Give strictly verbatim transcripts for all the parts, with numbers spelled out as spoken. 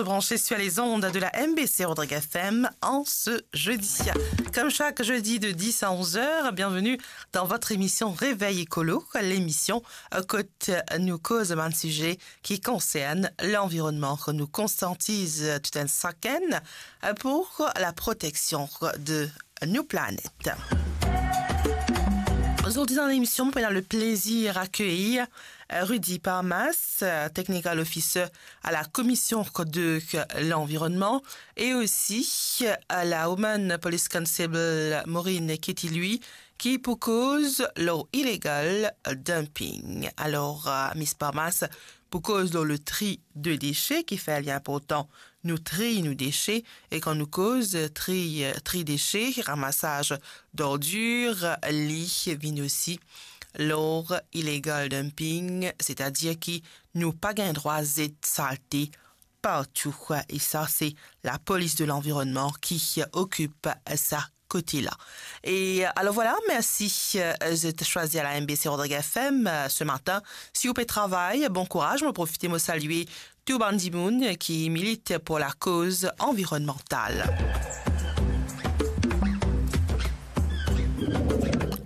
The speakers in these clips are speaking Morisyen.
Branché sur les ondes de la M B C Rodrigues F M en ce jeudi. Comme chaque jeudi de dix à onze heures, bienvenue dans votre émission Réveil Écolo, l'émission, euh, kot nou koz bann size ki konsern lanvironnman, kot nou konsiantiz tout enn sakenn, euh, pour la protection de nou planet. Zordi dan lemision, nou pou ena le plezir akeyir, euh, Rudy Parmas, euh, Technical Officer à la Commission de l'Environnement, e osi, euh, la Woman Police Constable Maureen Ketty Louis, ki pou koz lor illegal dumping. Alor, euh, Miss Parmas, pou koz lor le tri de dese, ki fer li inportan nou triy nou dese, e kan nou koz tri, tri dese, ramasaz d'ordir, li vinn osi lor illegal dumping, setadir ki nou pa gagn drwa zet salte partou. E sa, se la Police de l'Environnement ki okip sa kote la. E alor vwala, mersi, euh, zot swazir la M B C Rodrigues F M, euh, ce matin. Si ou pe travay, bon kouraz. Mo profite, mo salie tou bann dimoun ki milit pour la koz anvironnmantal.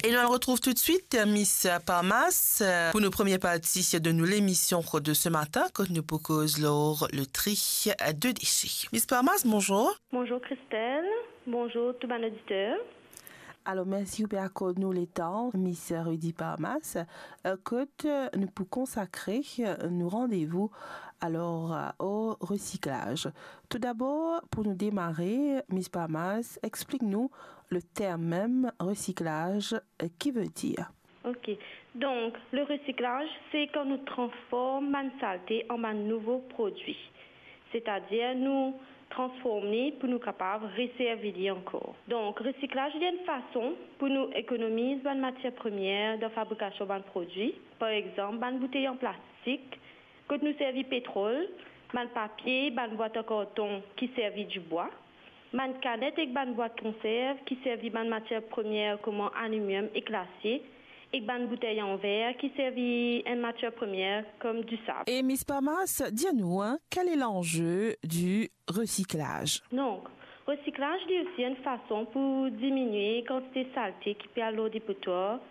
E nou al retrouv toutswit Miss Parmas, euh, pou nou premie parti de nou lemision de ce matin, kot nou pou koz lor le tri de dese. Miss Parmas, bonzour. Bonzour Christelle, bonzour tou bann oditer. Alor, mersi ou pe akord nou letan, Miss Rudy Parmas, euh, kot, euh, nou pou konsakre, euh, nou randevou, alor, euh, o resiklaz. Toudabor, pou nou demare, Miss Parmas, explik nou le term mem resiklaz, euh, ki vedir. Ok. Donk, le resiklaz, se kan nou transform bann salte an bann nouvo prodwi. Setadir, nou transform li pou nou kapav reservi li ankor. Donk, resiklaz, li enn fason pou nou ekonomiz bann matier premier dan fabrikasion bann prodwi. Par exanp, bann boutey an plastik, kot nou servi petrol, bann papie, bann bwat an karton ki servi dibwa, bann kanet ek bann bwat konserv ki servi bann matier premier kouma alimiom ek lasie, ek bann boutey an ver ki servi enn matier premier kom disab. E Miss Parmas, dir nou, hein, quel est l'enjeu du recyclage? Donk, resiklaz, li osi enn fason pou diminie kantite salte ki pe al lor depotwar,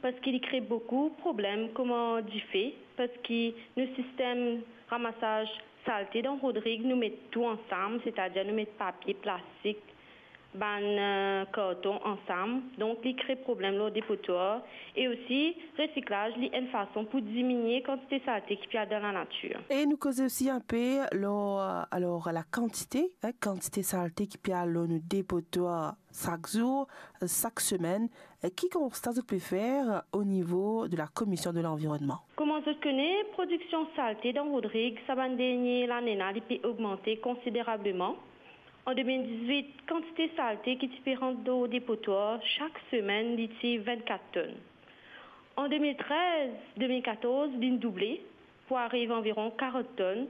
parski li kre boukou problem kouma dife, parski nou sistem ramasaz salte dan Rodrig, nou met tou ansam, setadir nou met papie, plastik, bann, euh, karton ansam. Donk, li kre problem lor depotwar. E osi, resiklaz, li enn fason pou diminie kantite salte ki pe al dan lanatir. E nou koze osi inpe lor, euh, alor, la kantite, hein, kantite salte ki pe al lor nou depotwar sak zour, sak semenn. Ki konsta zot pe fer o nivo de la Commission de l'Environnement? Kouma zot kone, prodiksion salte dan Rodrig, sa bann dernie lane la, li pe ogmante konsiderableman. An de mil dizwit, kantite salte ki ti pe rant dan depotwar sak semenn, li ti vennkat tonn. An de mil trez, de mil katorz, linn double pou ariv anviron karant tonn.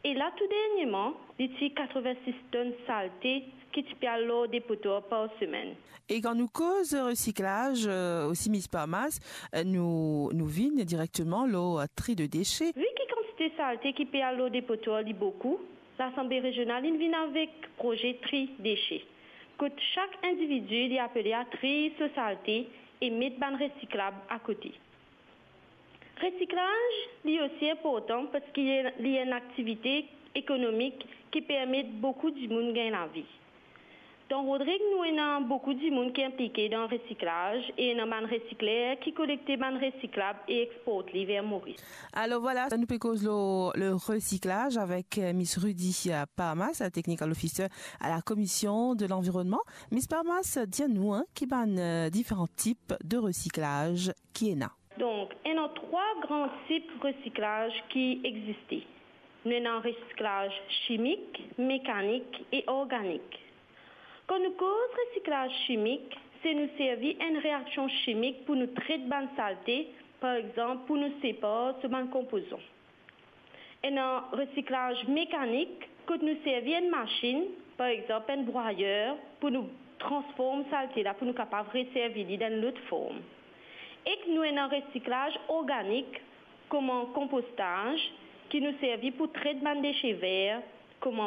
E la, tou dernieman, li ti katreven-sis tonn salte ki ti pe al lor depotwar par semenn. E kan nou koz resiklaz, euh, osi Miss Parmas, euh, nou, nou vinn direkteman lor, euh, tri de dese. Vi ki kantite salte ki pe al lor depotwar, li boukou, Lasanble Rezional inn vinn avek proze tri dese, kot sak individi li apele a triy so salte e met bann resiklab akote. Resiklaz, li osi inportan parski li, li enn aktivite ekonomik ki permet boukou dimoun gagn lavi. Dan Rodrig, nou ena boukou dimoun ki inplike dan resiklaz e ena bann resikler ki kolekte bann resiklab e export li ver Moris. Alor vwala, nou pe koz lor le resiklaz avek, euh, Miss Rudy, euh, Parmas, la Technical Officer à la Commission de l'Environnement. Miss Parmas, dir nou, hein, ki bann, euh, diferan tip de resiklaz ki ena? Donk, ena trwa gran tip resiklaz ki existe. Nou ena resiklaz chimik, mekanik e organik. Kan nou koz resiklaz chimik, se nou servi enn reaksion chimik pou nou tret bann salte, par exanp, pou nou separ so bann konpozan. Ena resiklaz mekanik, kot nou servi enn masinn, par exanp, enn brwayer, pou nou transform salte la, pou nou kapav reservi li dan enn lot form. Ek nou ena resiklaz organik, kouma konpostaz, ki nou servi pou tret bann dese ver, kouma